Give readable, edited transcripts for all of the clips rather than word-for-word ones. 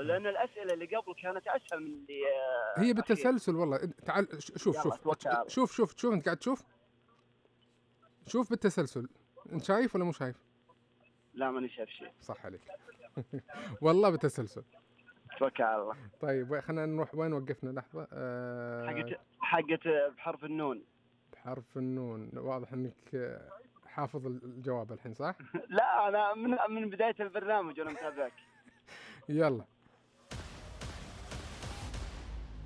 لأن الأسئلة اللي قبل كانت أسهل من اللي هي بالتسلسل والله. تعال شوف أنت قاعد شوف بالتسلسل. أنت شايف ولا مو شايف؟ لا ماني شايف شيء. صح عليك. والله بالتسلسل. توكل على الله. طيب خلينا نروح وين وقفنا لحظة. حقت بحرف النون. بحرف النون. واضح انك حافظ الجواب الحين صح؟ لا انا من بداية البرنامج وانا متابعك. يلا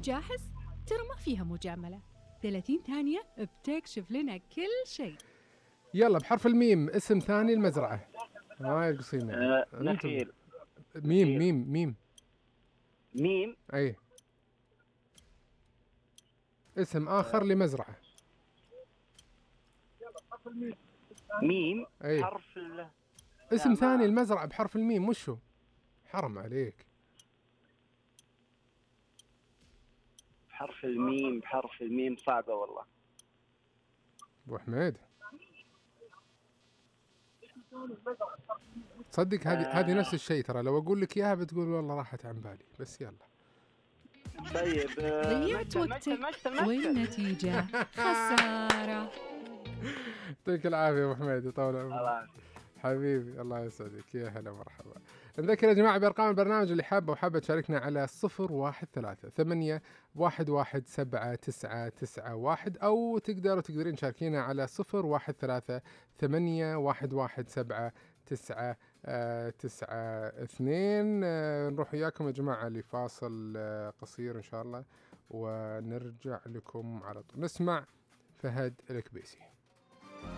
جاهز؟ ترى ما فيها مجاملة. 30 ثانية بتكشف لنا كل شيء. يلا بحرف الميم. اسم ثاني المزرعة. هاي القصيمة. نخيل. ميم اي. اسم آخر لمزرعة. ميم. أي. حرف اسم ثاني المزرعة بحرف الميم. وشو؟ حرم عليك. بحرف الميم صعبة والله. أبو حميد تصدق هذه نفس الشيء ترى. لو أقول لك إياها بتقول والله راحت عن بالي. بس يلا. طيب ضيعت وقتك والنتيجة خسارة. يعطيك العافية أبو حميد. يطول عمرك حبيبي. الله يسعدك. يا هلا مرحبا. نذكر يا جماعة بأرقام البرنامج اللي حابة تشاركنا على 013-811-79991 أو تقدرين تشاركينا على 013-811-79992. نروح وياكم يا جماعة لفاصل قصير إن شاء الله ونرجع لكم على طول. نسمع فهد الكبيسي.